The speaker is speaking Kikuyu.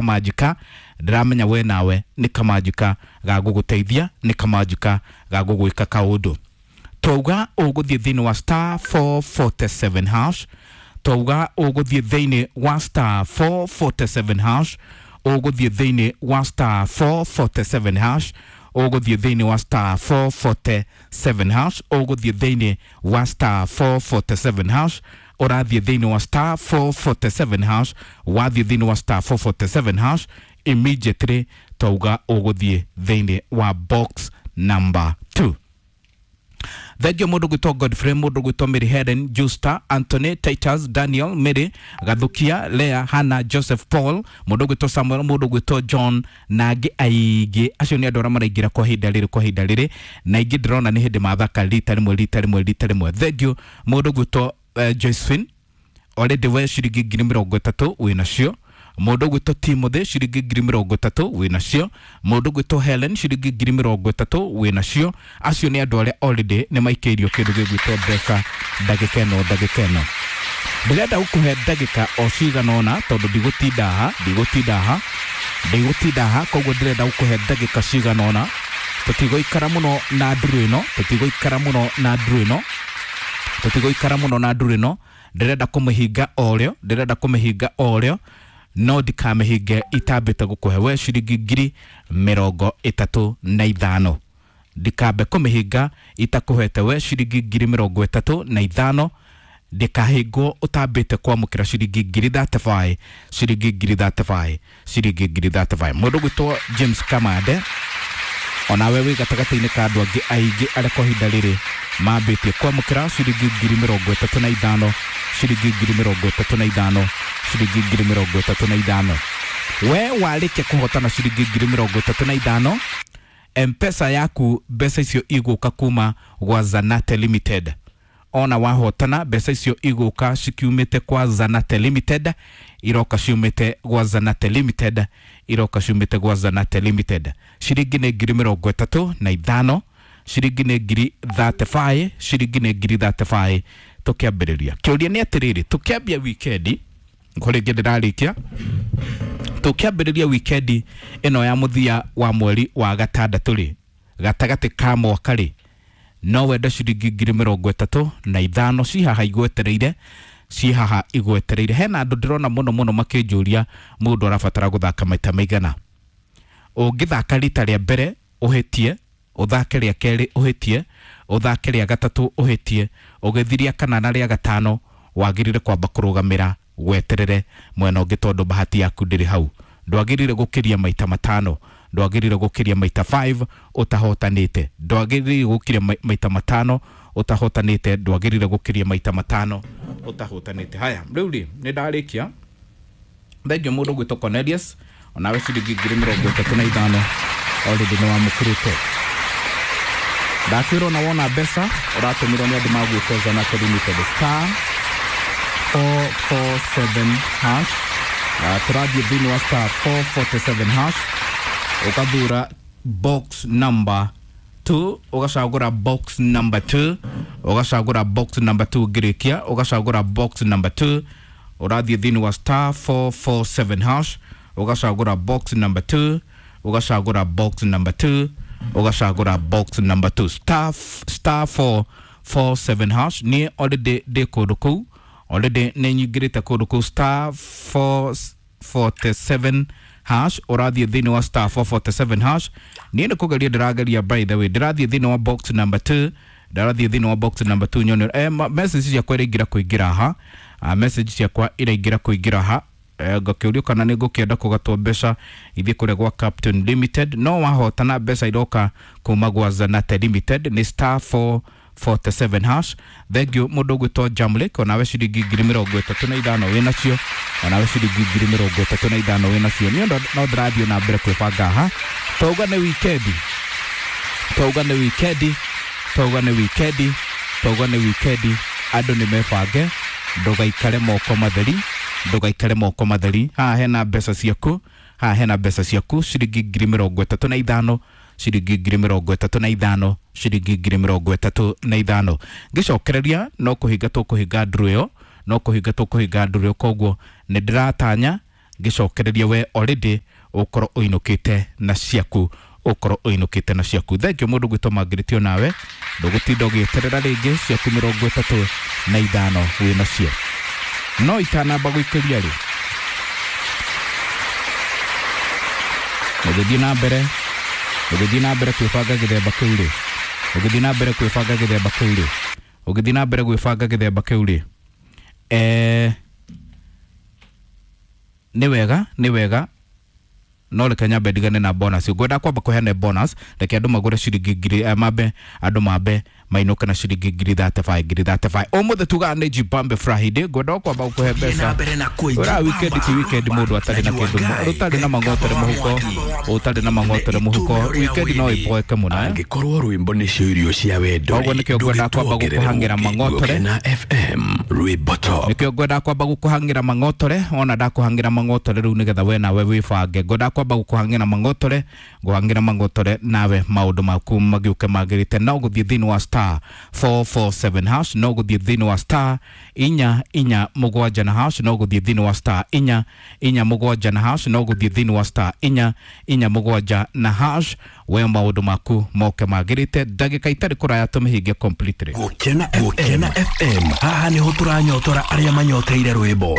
Kamanjika ndĩramenya we nawe nĩ kamanjika ga gũgũteithia, nĩ kamanjika ga gũgwĩka kaũndũ. Twauga ũgũthiĩ thĩinĩ wa star 447 hash, twauga ũgũthiĩ thĩinĩ wa star 447 hash, ũgũthiĩ thĩinĩ wa star 447 hash, ũgũthiĩ thĩinĩ wa star 447 hash, ũgũthiĩ thĩinĩ wa star 447 hash, ũrathiĩ thĩinĩ wa star 447 hash, wathiĩ thĩinĩ wa star 447 hash immediately twauga ũgũthiĩ thĩinĩ wa box number 2. Thengio mũndũ gwĩtwo Godfrey, mũndũ gwĩtwo Mary Helen, Justa, Anthony, Titus, Daniel, Mary, Gathukia, Lea, Hannah, Joseph, Paul, mũndũ gwĩtwo Samuel, mũndũ gwĩtwo John na angĩ aingĩ. Acio nĩ andũ arĩa maraingĩra kwa ihinda rĩrĩ, kwa ihinda rĩrĩ, na aingĩ ndĩrona nĩ hĩndĩ mathaka rita rĩmwe, rita rĩmwe, rita rĩmwe. Thengio mũndũ gwĩtwo Josephine, already we ciringi 30,000 wĩ nacio. Mũndũ ũgwĩtwo Timothy ciringi 30,000 wĩ nacio. Mũndũ ũgwĩtwo Helen ciringi 30,000 wĩ nacio. Acio nĩ andũ arĩa already nĩ maikĩirio kĩndũ gĩgwĩtwo mbeca ndagĩka ĩno, ndagĩka ĩno. Ndĩrenda gũkũhe ndagĩka o cigana ũna tondũ ndigũtinda haha, ndigũtinda haha, ndigũtinda haha, koguo ndĩrenda gũkũhe ndagĩka cigana ũna. Tũtigũikara mũno na nduru ĩno, tũtigũikara mũno na nduru ĩno, tũtigũikara mũno na nduru ĩno. Ndĩrenda kũmĩhinga o rĩo, ndĩrenda kũmĩhinga o rĩo, no ndikamĩhinge itambĩte gũkũhe we ciringi 35,000. Ndikambe kũmĩhinga itakũhete we ciringi 35,000. Ndikahingwo ũtambĩte kwamũkĩra ciringi 35,000, ciringi 35,000, ciringi 35,000. Mũndũ gwĩtwo James Kamande, onawe wĩ gatagatĩ-inĩ ka andũ angĩ aingĩ arĩa kwa ihinda rĩrĩ mambĩtie kwamũkĩra ciringi 35,000, ciringi 35,000, ciringi 35,000. We warĩkia kũhotana ciringi 35,000, Mpesa yaku mbeca icio igũka kuma gwa Zanate Limited. Ona wahotana mbeca icio igũka cikiumĩte kwa Zanate Limited, iroka ciumĩte gwa Zanate Limited, iroka ciumĩte gwa Zanate Limited. Ciringi nĩ 35,000, ciringi nĩ 35,000, ciringi nĩ 35,000. Tũkĩambĩrĩria kĩũria nĩ atĩrĩrĩ, tũkĩambia wikendi ko rĩngĩ ndĩrarĩkia, tũkĩambĩrĩria wikendi ĩno ya mũthia wa mweri wa gatandatũ rĩ, gatagatĩ ka mwaka rĩ, no wende ciringi 35,000 ci haha igwetereire, ci haha igwetereire. Hena andũ ndĩrona mũno mũno makĩnjũria mũndũ arabatara gũthaka maita maigana. Ũngĩthaka rita rĩa mbere ũhĩtie, ũthake rĩa kerĩ ũhĩtie, ũthake rĩa gatatũ ũhĩtie, ũgĩthiria kana na rĩa gatano wagĩrĩire kwamba kũrũgamĩra weterere mwena ũngĩ tondũ bahati yaku ndĩrĩ hau. Ndwagĩrĩire gũkĩria maita matano, ndwagĩrĩire gũkĩria maita 5 ũtahotanĩte, ndwagĩrĩire gũkĩria maita matano ũtahotanĩte, ndwagĩrĩire gũkĩria maita matano ũtahotanĩte. Haya, rĩu rĩ nĩ ndarĩkia. Thengio mũndũ gwĩtwo Cornelius, onawe ciringi 35,000 already nĩ wamũkĩrĩte. Ndakwĩrwo na wona mbeca ũratũmĩrwo nĩ andũ magwĩtwo Zanate Limited, star 447 hash. Tũrathiĩ thĩinĩ wa star 447 hash, ũgathura box number 2, ũgacagũra box number 2, ũgacagũra box number 2 ngĩrĩkia, ũgacagũra box number 2, ũrathiĩ thĩinĩ wa star 447 hash, ũgacagũra box number 2, ũgacagũra box number 2, ũgacagũra box number 2, star star 447 hash. Niĩ already ndĩ kũndũ kũu, already nĩ nyingĩrĩte kũndũ kũu star 447 hash, ũrathiĩ thĩinĩ wa star 447 hash. Niĩ nĩ kũgeria ndĩrageria, by the way ndĩrathiĩ thĩinĩ wa box number 2, ndĩrathiĩ thĩinĩ wa box number 2 nyone message ciakwa iraingĩra kũingĩra ha, message ciakwa iraingĩra kũingĩra ha. Ngakĩũrio kana nĩ ngũkĩenda kũgatwo mbeca ithiĩ kũrĩa gwa Captain Limited. No wahotana mbeca iroka kuma gwa Zanate Limited nĩ star 447 hash. Thank you mũndũ ũgwĩtwo Jamlek, onawe ciringi 35,000 wĩ nacio, onawe ciringi 35,000 wĩ nacio. Niĩ no ndĩrathiĩ na mbere kwĩbanga haha. Twauga nĩ wikendi, twauga nĩ wikendi, twauga nĩ wikendi, twauga nĩ wikendi, andũ nĩ mebange, ndũgaikare moko matheri, ndũgaikare moko matheri. Haha hena mbeca ciaku, haha hena mbeca ciaku ciringi 35,000, ciringi 35,000, ciringi 35,000. Ngĩcokereria no kũhinga tũkũhinga nduru ĩyo, no kũhinga tũkũhinga nduru ĩyo, koguo nĩ ndĩratanya Ngĩcokereria we already ũkorwo ũinũkĩte na ciaku, ũkorwo ũinũkĩte na ciaku. Thank you mũndũ gwĩtwo Margaret, nawe ndũgũtinda ũgĩeterera rĩngĩ, ciaku 35 wĩ nacio. No itanamba gũikĩria rĩ, ũgĩthiĩ na mbere, ũgĩthiĩ na mbere kwĩbanga gĩthemba kĩu rĩ, ũgĩthiĩ na mbere kwĩbanga gĩthemba kĩu rĩ, ũgĩthiĩ na mbere gwĩbanga gĩthemba kĩu rĩ, nĩ wega, nĩ wega, no reke nyambe ndigane na bonus. Ngwenda kwamba kũheana bonus, reke andũ magũre ciringi ngiri, mambe andũ mambe mainũke na ciringi 35,000, 35,000. Ũmũthĩ tugaga nĩ Jibambe Friday. Ngwenda kwamba gũkũhe mbeca ura weekend ti weekend mũndũ atarĩ na kĩndũ, ũtarĩ na mang'otere mũhuko, ũtarĩ na mang'otere mũhuko, weekend no ĩboeke mũno, eh? Angĩkorwo rwĩmbo nĩcio irio cia wendo. Koguo nĩkĩo ngwenda kwamba gũkũhang'ĩra mang'otore. Na FM rwĩmbo top. Nĩkĩo ngwenda kwamba gũkũhang'ĩra mang'otore. Ona ndakũhang'ĩra mang'otore rĩu nĩgetha we nawe wĩbange, ngwenda kwamba gũkũhang'ĩra mang'otore, ngũhang'ĩra mang'otore nawe maũndũ maku magĩũke magĩrĩte. No gũthiĩ thĩinĩ wa *447#, no gũthiĩ thĩinĩ wa *447#, no gũthiĩ thĩinĩ wa *447#, no gũthiĩ thĩinĩ wa *447# we maũndũ maku moke magĩrĩte. Ndagĩka itarĩ kũraya tũmĩhinge completely. Gũkena FM, haha nĩho tũranyotora arĩa manyoteire rwĩmbo.